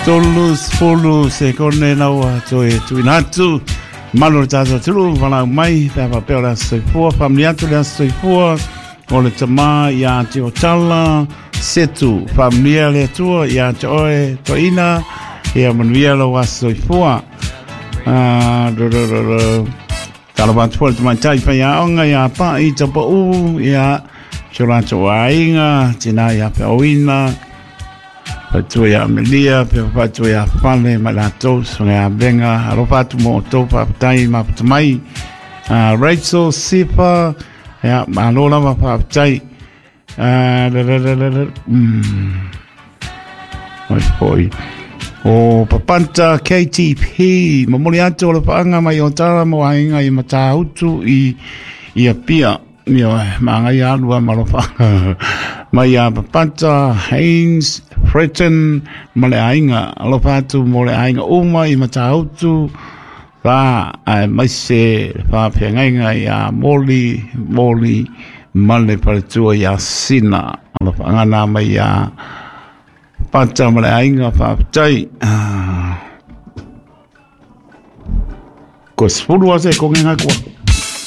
30 sekone na ua toe tuuina atu malu o le tatou atunuu valaau mai pe a faapea o le aso soifua faamanuia atu le aso soifua o le tama ia te Otala Setu faamanuia le Atua ia te oe toeaina ia manuia lou aso soifua. Ah, ru, ru, ru, ru. Talofa atu foi le tamaitai faiaoga ia Pa'i Tapaʻu, ia si o latou aiga, tina ia Feauina, faletua ia Amelia, pea faletua ia Fale ma i latou, susuga ia Vega, alofa atu mo outou, faafetai mafuta mai. Rachel Sifa, ia, malo lava faafetai. Mai foi. O Papanta KTP, momoli atu o le paanga mai o tala mo aiga i Matautu i i Apia. Ioe, māngai alu a malofa. Mai a Papanta, Haynes, Fretton, ma le aiga. Alofa atu mo le aiga uma i Matautu, Rā, aemaise le faafeagaiga iā Moli, Moli ma le faletua iā Sina. Alofaaga nā mai iā Pata ma le aiga faafetai. Ko 10 ase ko ngenga kua.